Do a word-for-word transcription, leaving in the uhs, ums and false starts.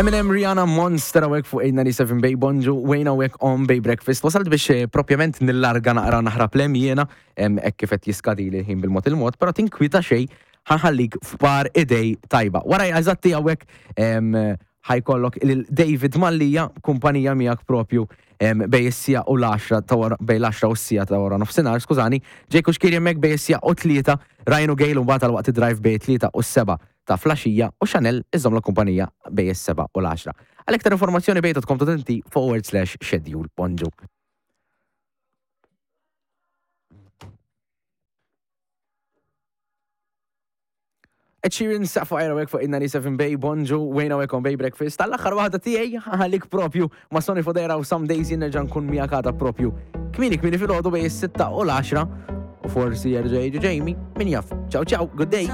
Eminem, Rihanna, Monster hawnhekk fuq eight ninety-seven Bay. Bonġu, Wayne hawnhekk on Bay Breakfast. Wasalt biex eh, propjament nillarga naqra, naħrab lem jiena, hekk kif qed jiskadi li ħin bil-mod il-mod, però tinkwita xejn, ħa nħallik f'par idej tajba. Wara eżatti hawnhekk ħa jkollok lil David Mallija, kumpanija miegħek propju bejn is-siegħa u l-għaxra ta' wara, bejn l-għaxra u s-siegħa ta' wara nofsinhar, skużani, Ġejku Xkiri hemmhekk bejn is-siegħa u tlieta, Ryan u Gail mbagħad għal waqt drive bejn tlieta u s-seba' ta' filgħaxija u Chanel iżomm la kumpanija bejn is-seba' u l-għaxra. Għal iktar informazzjoni bay dot com dot M T forward slash schedule. Bonġu. Ed Sheeran, Sapphire hawnhekk fuq in-ninety-seven Bay. Bonġu, Wayne hawnhekk on Bay Breakfast. Tal-aħħar waħda tiegħi ħallik propju ma' Sonny Fodera u Some Days. Jien nerġa' nkun miegħek għada propju kmieni kmieni filgħodu bejn is-sitta u l-għaxra u forsi jerġa' jiġi Jamie, min jaf. Ciao ciao, good day.